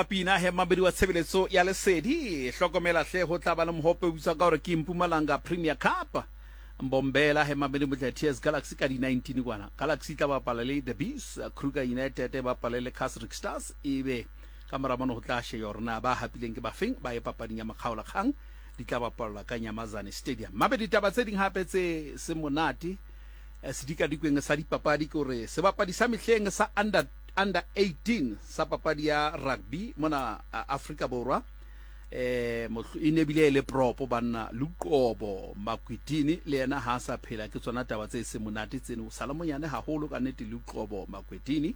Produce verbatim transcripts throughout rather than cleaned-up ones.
Pina he mabedi wa tshebeletso ya Lesedi. Hlokomela hle, ho tla ba le mohope o bitswa ka hore ke Mpumalanga Premier Cup. Mbombela he mabedi motle T S Galaxy ka di nineteen kwana. Galaxy tla bapala le The Bees, Kruger United e bapale le Casric Stars, ebe ka mora mono ho tla shejwa hore na ba hapileng ke bafeng ba ye papading ya makgaolakgang, di tla bapallwa ka Nyamazane Stadium. Mabedi taba tse ding hape tse se monate eh, sedikadikweng sa dipapadi ke hore sebapadi sa mehleng sa under under eighteen sa papadi ya rugby mona Afrika Borwa, eh e ne bile e le prop banna, Luqobo Makwetini, le yena ha sa phela. Ke tsona taba tse se monate tseno, sala monyane haholo ka nnete. Luqobo Makwetini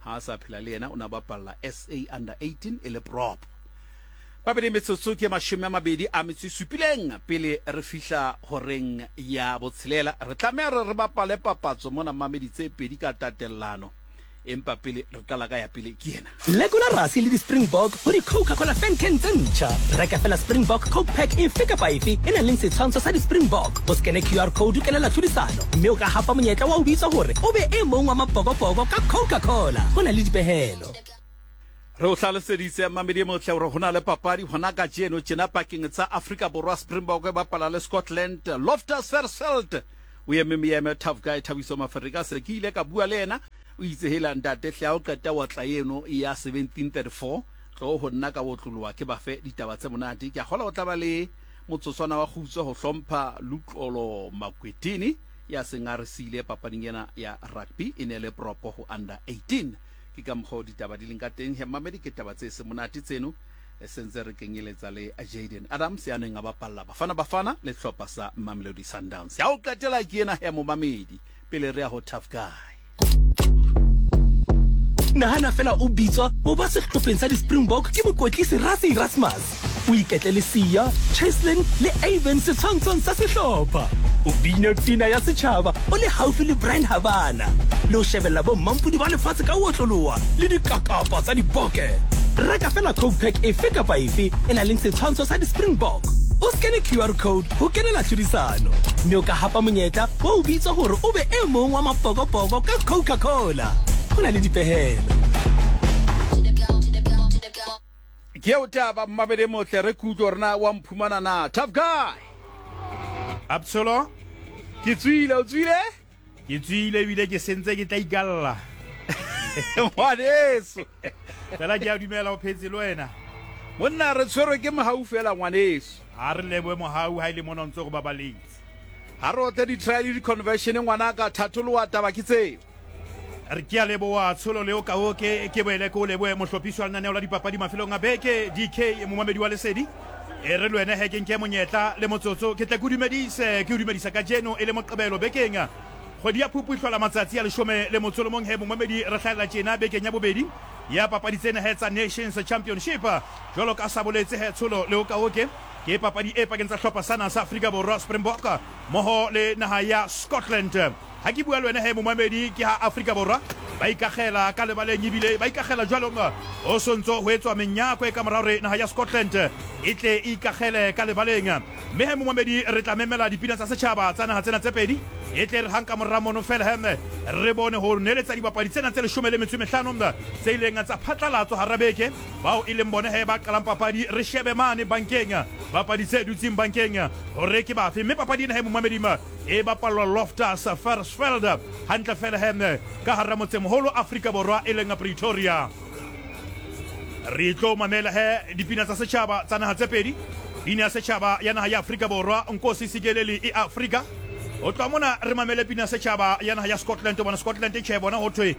ha sa phela, le yena o na bapalla S A under eighteen e le prop. Babedi metsotso ke mashome a mabedi a metso e supileng pele re fihla horeng ya botshelela. Re tlameha re re bapale papatso mona, mamedi, tse pedi ka tatellano, empa pele re qala ka ya pele ke ena. Lekola Rassie le di-Springbok ho di-Coca-Cola fan can tse ntjha. Reka fela Springbok Coke Pack efe kapa efe e nang le setshwantsho sa di-Springbok, o skene Q R code o kenela tlhodisano, mme o ka hapa monyetla wa ho bitswa hore o be e mong wa mapokopoko ka Coca-Cola. Ho na le dipehelo. Re o hlaloseditse, mamedi e motle, hore ho na le papadi hona kajeno tjena pakeng tsa Afrika Borwa, Springbok e bapala le Scotland, Loftus Versfeld. O eme meeme tough guy Thabiso Maferika, se ke ile ka bua le yena, o itse hela ntate hle, ha o qeta wa tla eno ya seventeen thirty-four tlo ho nna ka otloloha ke bafe ditaba tse monate. Ke a kgola o tla ba le motsotswana wa kgutso ho hlompha Luxolo Makwetini ya seng a re siile papading ena ya rugby, e ne le prop ho under eighteen. Ke ka mokgwa o ditaba di leng ka teng he mamedi, ke taba tse se monate tseno. E sentse re kenyeletsa le Jaden Adams ya neng a bapalla Bafana Bafana le hlopha sa Mamelodi Sundowns. Ya ho qetela ke ena he momamedi pele re ya ho tough guy. Nahana fela o bitswa ho ba sehlopheng sa di-Springbok ke mokwetlisi Rassie Erasmus, o iketle le Siya, Cheslin le Avan setshwantshong sa sehlopha, o bina pina ya setjhaba o le haufi le Bryan Habana, le ho shebella bo mmampudi ba lefatshe ka ho otloloha le dikakapa tsa diboke. Reka fela Coke Pack efe kapa efe e nang le setshwantsho sa di-Springbok, o skene Q R code ho kenela tlhodisano, mme o ka hapa monyetla wa ho bitswa hore o be e mong wa mapokopoko ka Coca-Cola. Ho na le dipehelo. Ke eo taba, mmabedi motle, re kutlwe hore na wa mphumana na, tough guy. Absolo. Ke tswile, o tswile? Ke tswile ebile ke sentse ke tla ikalla. Ngwaneso. Fela ke a dumela o phetse le wena. Monna, re tshwerwe ke mohau fela, ngwaneso. Ha re lebohe mohau ha ile mona o ntse go babaletse. Ha re otle di-try le di-conversion, ngwanaka, thatholoa taba ke tseo. Re ke a leboha tsholo leo ka o ke ke boele ke o lebohe mohlophisi wa lenaneo la dipapadi mafelong a beke D K, momamedi wa Lesedi. E re le wena he ke nke monyetla le motsotso ke tle ke o dumedise, ke o dumedisa ka jeno e le Moqebelo bekeng kgwedi ya Phupu e hlola matsatsi a leshome le motso le mong. He momamedi, re hlahella tjena bekeng ya bobedi ya papadi tsena he tsa Nations Championship. Jwalo ka sa boletse he tsholo le o ka oke, ke papadi e pakeng tsa hlopha sana sa Afrika Borwa, Springbok, mmoho le naha ya Scotland. Ha ke bua le wena he momamedi, ke ha Afrika Borwa ba ikagela ka lebaleng, ebile ba ikagela jwalong o sontso ho etswa menyako e ka mora hore naha ya Scotland e tle e ikagele ka lebaleng. Mme he momamedi, re tla memela dipina tsa setjhaba tsa naha tsena tse pedi, e tle re hang ka mora mono fela he re bone ho neletsa dibapadi tsena tse leshome le metso e mehlano tse ileng tsa phatlalatswa hara beke, bao e leng bone he ba qalang papadi. Re shebe mane bankeng, bapadi tse dutseng bankeng hore ke bafe. Mme papadi ena he momamedi e bapallwa Loftus Versfeld, hantle fela he ka hara motsemoholo Afrika Borwa e leng Pretoria. Re tlo mamela he dipina tsa setjhaba tsa naha tse pedi. Pina ya setjhaba ya naha ya Afrika Borwa, Nkosi Sikeleli iAfrika. Ho tloha mona re mamele pina ya setjhaba ya naha ya Scotland. Bona Scotland tjhe, bona ho thwe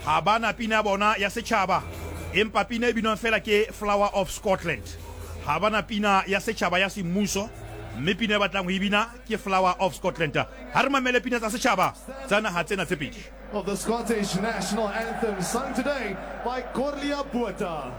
ha bana pina ya bona ya setjhaba, empa pina e binwang fela ke Flower of Scotland. Ha bana pina ya setjhaba ya semmuso, mme pina e batlang ho e bina ke Flower of Scotland. Ha re mamele pina tsa setjhaba tsa naha tsena tse pedi. Of the Scottish national anthem, sung today by Corlia Botha.